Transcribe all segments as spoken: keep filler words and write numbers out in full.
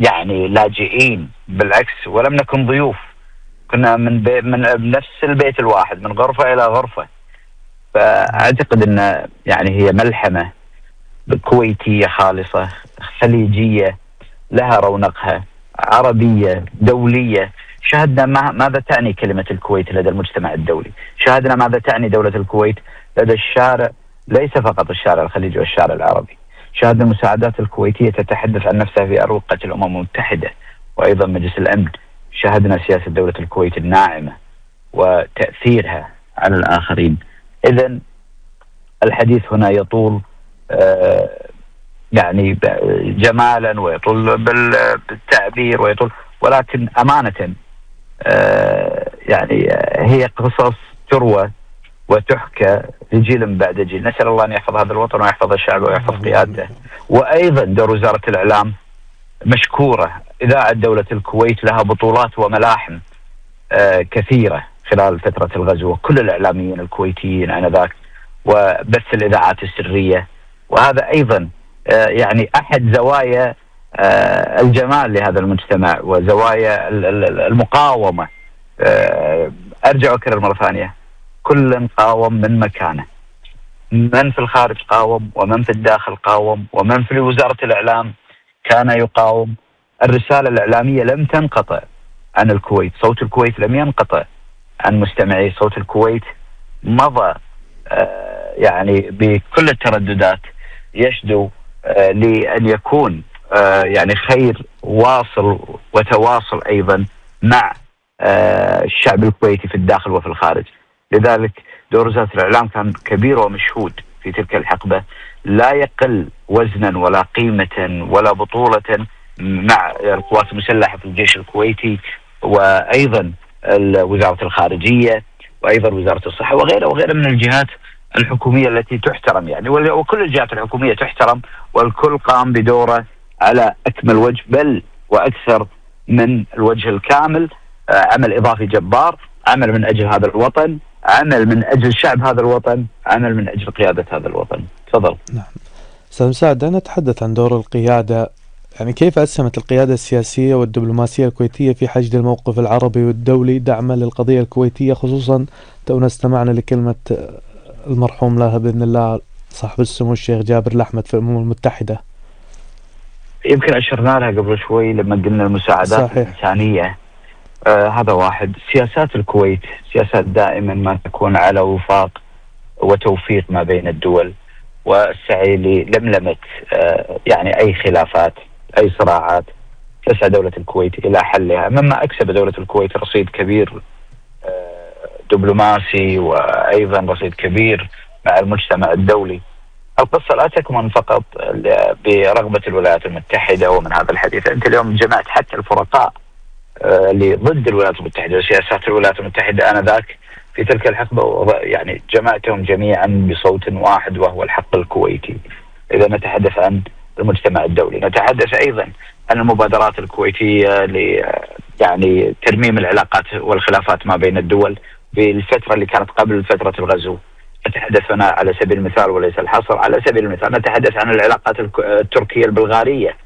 يعني لاجئين، بالعكس ولم نكن ضيوف، كنا من بي من نفس البيت الواحد، من غرفة إلى غرفة. فأعتقد أن يعني هي ملحمة كويتية خالصة خليجية لها رونقها، عربية دولية. شاهدنا ماذا تعني كلمة الكويت لدى المجتمع الدولي، شاهدنا ماذا تعني دولة الكويت لدى الشارع، ليس فقط الشارع الخليجي والشارع العربي. شاهدنا المساعدات الكويتية تتحدث عن نفسها في أروقة الأمم المتحدة وأيضا مجلس الأمن. شاهدنا سياسة دولة الكويت الناعمة وتأثيرها على الآخرين. إذن الحديث هنا يطول آه يعني جمالا ويطول بالتعبير ويطول، ولكن أمانة آه يعني هي قصص تروى وتحكى لجيل بعد جيل. نسأل الله أن يحفظ هذا الوطن ويحفظ الشعب ويحفظ قيادته. وأيضا دور وزارة الإعلام مشكورة. إذاعة دولة الكويت لها بطولات وملاحم آه كثيرة خلال فترة الغزو، وكل الإعلاميين الكويتيين آنذاك، وبث الإذاعات السرية. وهذا أيضا آه يعني أحد زوايا آه الجمال لهذا المجتمع وزوايا المقاومة. آه أرجع أكرر مرة ثانية، كل قاوم من مكانه، من في الخارج قاوم، ومن في الداخل قاوم، ومن في وزارة الإعلام كان يقاوم. الرسالة الإعلامية لم تنقطع عن الكويت، صوت الكويت لم ينقطع عن مستمعي صوت الكويت. مضى آه يعني بكل الترددات يشدو آه لأن يكون آه يعني خير واصل وتواصل أيضا مع آه الشعب الكويتي في الداخل وفي الخارج. لذلك دور وزارة الإعلام كان كبير ومشهود في تلك الحقبة، لا يقل وزنا ولا قيمة ولا بطولة مع القوات المسلحة في الجيش الكويتي، وأيضا وزارة الخارجية، وأيضا وزارة الصحة، وغيرها وغيرها من الجهات الحكومية التي تحترم يعني. وكل الجهات الحكومية تحترم، والكل قام بدوره على أكمل وجه، بل وأكثر من الوجه الكامل. عمل إضافي جبار، عمل من أجل هذا الوطن، عمل من أجل شعب هذا الوطن، عمل من أجل قيادة هذا الوطن. تفضل. نعم أستاذ مساعد، دعنا نتحدث عن دور القيادة. يعني كيف أسهمت القيادة السياسية والدبلوماسية الكويتية في حشد الموقف العربي والدولي دعما للقضية الكويتية، خصوصا تونا استمعنا لكلمة المرحوم لها بإذن الله صاحب السمو الشيخ جابر الأحمد في الأمم المتحدة؟ يمكن أشرنا لها قبل شوي لما قلنا المساعدات صحيح. الإنسانية. آه هذا واحد. سياسات الكويت سياسات دائما ما تكون على وفاق وتوفيق ما بين الدول، والسعي للملمة آه يعني أي خلافات، أي صراعات. تسعى دولة الكويت إلى حلها، مما أكسب دولة الكويت رصيد كبير آه دبلوماسي، وأيضا رصيد كبير مع المجتمع الدولي. القصة لا تكمن فقط برغبة الولايات المتحدة ومن هذا الحديث. أنت اليوم جمعت حتى الفرقاء اللي ضد الولايات المتحدة وسياسات الولايات المتحدة آنذاك في تلك الحقبة، يعني جمعتهم جميعا بصوت واحد وهو الحق الكويتي. إذا نتحدث عن المجتمع الدولي، نتحدث أيضا عن المبادرات الكويتية ل يعني ترميم العلاقات والخلافات ما بين الدول في الفترة اللي كانت قبل فترة الغزو. نتحدث هنا على سبيل المثال وليس الحصر، على سبيل المثال نتحدث عن العلاقات التركية البلغارية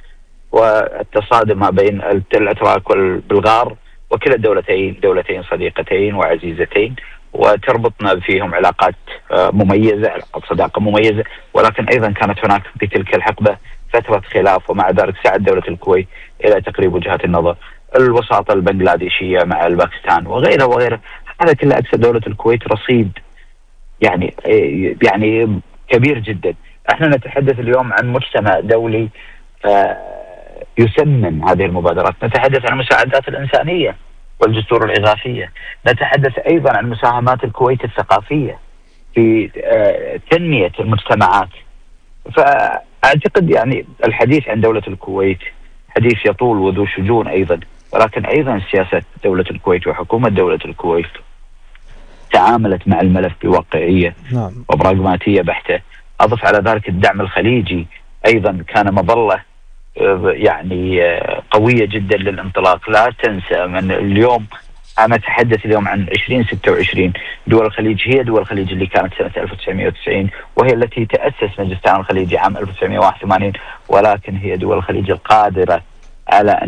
والتصادم ما بين الأتراك والبلغار، وكلا الدولتين دولتين صديقتين وعزيزتين، وتربطنا فيهم علاقات مميزة، علاقات صداقة مميزة. ولكن أيضا كانت هناك في تلك الحقبة فترة خلاف، ومع ذلك سعت دولة الكويت إلى تقريب وجهات النظر. الوساطة البنغلاديشية مع الباكستان وغيرها وغيرها، هذا كله أكسب دولة الكويت رصيد يعني يعني كبير جدا. احنا نتحدث اليوم عن مجتمع دولي يسمن هذه المبادرات، نتحدث عن المساعدات الإنسانية والجسور الإغاثية، نتحدث أيضا عن مساهمات الكويت الثقافية في تنمية المجتمعات. فأعتقد يعني الحديث عن دولة الكويت حديث يطول وذو شجون أيضا، ولكن أيضا سياسة دولة الكويت وحكومة دولة الكويت تعاملت مع الملف بواقعية نعم. وبراغماتية بحتة. أضف على ذلك الدعم الخليجي أيضا كان مظلة يعني قوية جدا للانطلاق. لا تنسى من اليوم، أنا أتحدث اليوم عن عشرين ستة وعشرين، دول الخليج هي دول الخليج اللي كانت سنة ألف وتسعمائة وتسعين، وهي التي تأسس مجلس التعاون الخليجي عام ألف وتسعمائة وواحد وثمانين، ولكن هي دول الخليج القادرة على أن